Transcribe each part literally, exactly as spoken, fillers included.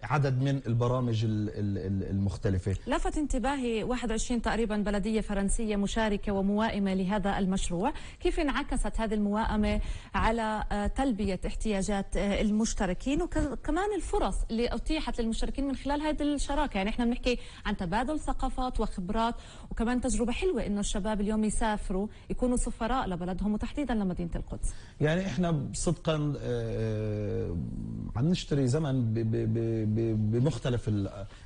عدد من البرامج المختلفة. لفت انتباهي واحد وعشرين تقريبا بلدية فرنسية مشاركة وموائمة لهذا المشروع، كيف انعكست هذه الموائمة على تلبية احتياجات المشتركين وكمان الفرص اللي أتيحت للمشتركين من خلال هذه الشراكة؟ يعني احنا بنحكي عن تبادل ثقافات وخبرات، وكمان تجربة حلوة انه الشباب اليوم يسافروا يكونوا سفراء لبلدهم وتحديدا لمدينة القدس. يعني احنا صدقا عم نشتري زمن بمختلف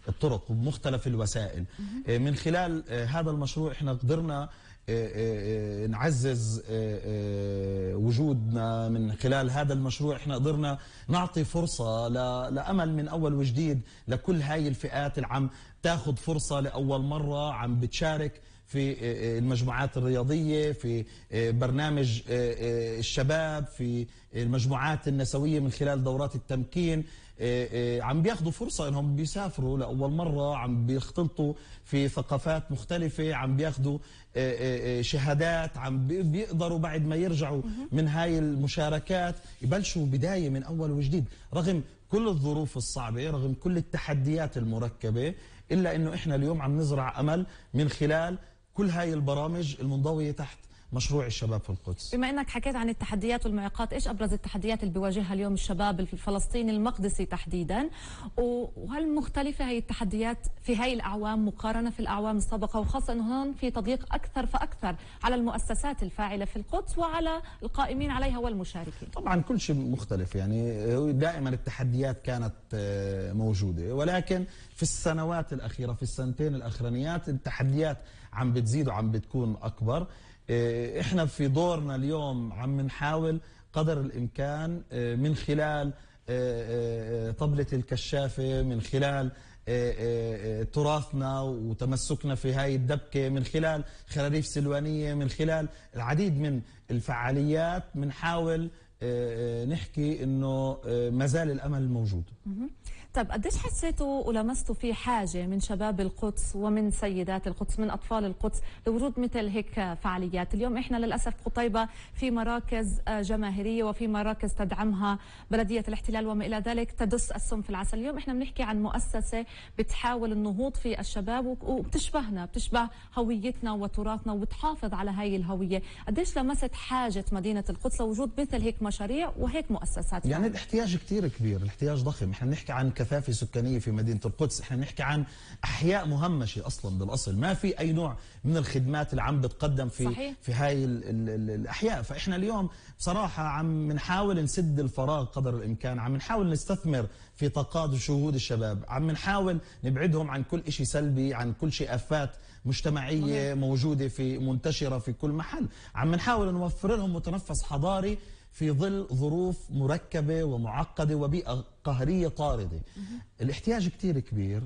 الطرق وبمختلف الوسائل. من خلال هذا المشروع احنا قدرنا نعزز وجودنا. من خلال هذا المشروع احنا قدرنا نعطي فرصة لأمل من أول وجديد لكل هاي الفئات اللي عم تاخذ فرصة لأول مرة، عم بتشارك في المجموعات الرياضية، في برنامج الشباب، في المجموعات النسوية من خلال دورات التمكين. عم بياخذوا فرصة انهم بيسافروا لأول مرة، عم بيختلطوا في ثقافات مختلفة، عم بياخذوا شهادات، عم بيقدروا بعد ما يرجعوا من هاي المشاركات يبلشوا بداية من أول وجديد، رغم كل الظروف الصعبة، رغم كل التحديات المركبة، إلا إنه إحنا اليوم عم نزرع أمل من خلال كل هاي البرامج المنضوية تحت مشروع الشباب في القدس. بما انك حكيت عن التحديات والمعوقات، ايش ابرز التحديات اللي بيواجهها اليوم الشباب الفلسطيني المقدسي تحديدا، وهل مختلفه هي التحديات في هاي الاعوام مقارنه في الاعوام السابقه، وخاصه انه هون في تضييق اكثر فاكثر على المؤسسات الفاعله في القدس وعلى القائمين عليها والمشاركين؟ طبعا كل شيء مختلف، يعني دائما التحديات كانت موجوده، ولكن في السنوات الاخيره، في السنتين الاخرانيات، التحديات عم بتزيد وعم بتكون اكبر. احنا في دورنا اليوم عم نحاول قدر الامكان من خلال طبلة الكشافة، من خلال تراثنا وتمسكنا في هاي الدبكة، من خلال خراريف سلوانية، من خلال العديد من الفعاليات، بنحاول نحكي انه ما زال الامل موجود. طب قديش حسيتوا ولمستوا في حاجة من شباب القدس ومن سيدات القدس، من أطفال القدس، لوجود مثل هيك فعاليات؟ اليوم إحنا للأسف قطيبة في مراكز جماهيرية وفي مراكز تدعمها بلدية الاحتلال وما إلى ذلك تدس السم في العسل. اليوم إحنا بنحكي عن مؤسسة بتحاول النهوض في الشباب وبتشبهنا، بتشبه هويتنا وتراثنا وبتحافظ على هاي الهوية. قديش لمست حاجة مدينة القدس لوجود مثل هيك مشاريع وهيك مؤسسات؟ يعني الاحتياج كتير كبير، الاحتياج ضخم. إحنا بنحكي عن كثافة سكانية في مدينة القدس، احنا نحكي عن أحياء مهمشة أصلا بالأصل، ما في أي نوع من الخدمات اللي عم بتقدم في صحيح. في هاي ال ال ال الأحياء. فإحنا اليوم بصراحة عم نحاول نسد الفراغ قدر الإمكان، عم نحاول نستثمر في طاقات وشهود الشباب، عم نحاول نبعدهم عن كل شيء سلبي، عن كل شيء آفات مجتمعية مهم. موجودة في منتشرة في كل محل، عم نحاول نوفر لهم متنفس حضاري في ظل ظروف مركبة ومعقدة وبيئة قهرية طاردة. الاحتياج كتير كبير.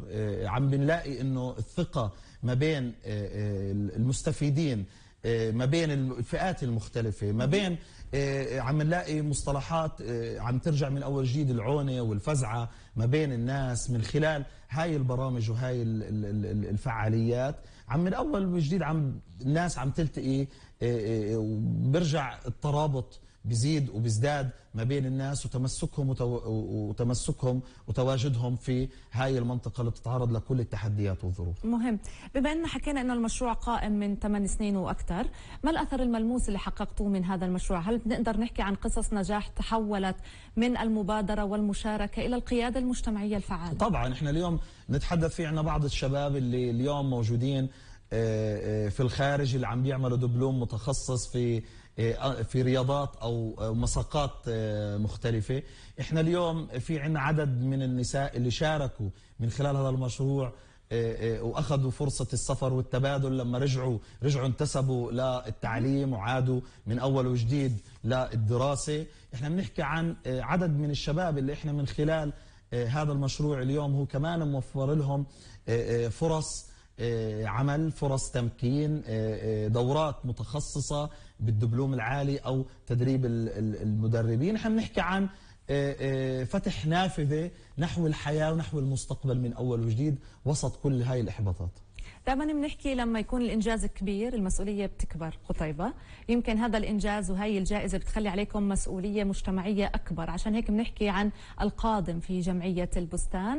عم بنلاقي انه الثقة ما بين المستفيدين، ما بين الفئات المختلفة، ما بين عم نلاقي مصطلحات عم ترجع من أول جديد، العونة والفزعة ما بين الناس من خلال هاي البرامج وهاي الفعاليات. عم من أول وجديد عم الناس عم تلتقي، وبرجع الترابط بيزيد وبيزداد ما بين الناس، وتمسكهم وتو... وتمسكهم وتواجدهم في هاي المنطقة اللي بتتعرض لكل التحديات والظروف. مهم. بما أن حكينا أن المشروع قائم من ثمان سنين وأكثر، ما الأثر الملموس اللي حققتوه من هذا المشروع؟ هل بنقدر نحكي عن قصص نجاح تحولت من المبادرة والمشاركة إلى القيادة المجتمعية الفعالة؟ طبعا احنا اليوم نتحدث في عنا بعض الشباب اللي اليوم موجودين في الخارج، اللي عم بيعملوا دبلوم متخصص في في رياضات أو مساقات مختلفة. إحنا اليوم في عنا عدد من النساء اللي شاركوا من خلال هذا المشروع وأخذوا فرصة السفر والتبادل، لما رجعوا رجعوا انتسبوا للتعليم وعادوا من أول وجديد للدراسة. إحنا بنحكي عن عدد من الشباب اللي إحنا من خلال هذا المشروع اليوم هو كمان موفر لهم فرص عمل، فرص تمكين، دورات متخصصة بالدبلوم العالي أو تدريب المدربين. نحن بنحكي عن فتح نافذة نحو الحياة ونحو المستقبل من أول وجديد وسط كل هاي الإحباطات. دائما بنحكي لما يكون الإنجاز كبير المسؤولية بتكبر. قطيبة يمكن هذا الإنجاز وهي الجائزة بتخلي عليكم مسؤولية مجتمعية أكبر، عشان هيك بنحكي عن القادم في جمعية البستان.